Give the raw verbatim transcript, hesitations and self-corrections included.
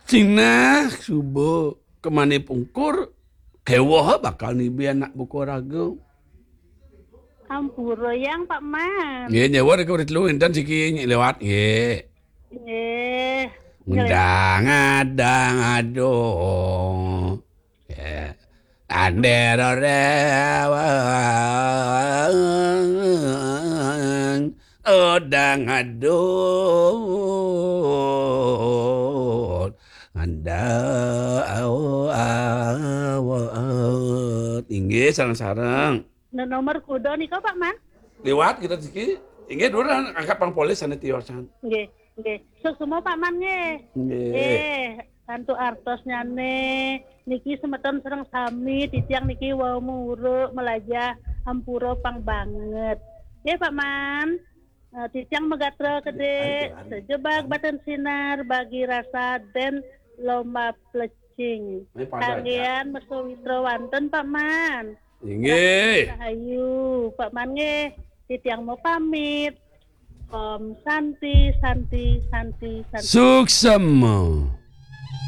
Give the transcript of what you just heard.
Cingna suba kemane pungkur, kewoh bakal nibi anak buka raga. Ampura yang Pak Man. Nggih, nyewa ke urip telu enten siki liwat nggih. Nggih. Ngendang adang aduh. Ya. Ander rewang odang adut. Nganda awat. Inggih, sareng-sareng. Nah, nomor kuda nika, Pak Man? Liwat kita siki. Inggih, dulu angkat pang polis sana tiosan. Nggih, nggih. Suksma Pak Man nggih. Nggih. Nggih, kantuk artosnyane niki semeton sareng sami titiang niki wau muruk melajah ampura pang banget. Nggih, Pak Man. Eh, titiang megatra gede, sejebak batin sinar bagi rasa den lomba plecing. Ini pada aja. Kanggian mesawitra wanten, Pak Man. Inggih. Rahayu, Pak Man nggih. Titiang mau pamit. Om Santi, Santi, Santi, Santi. Suksma.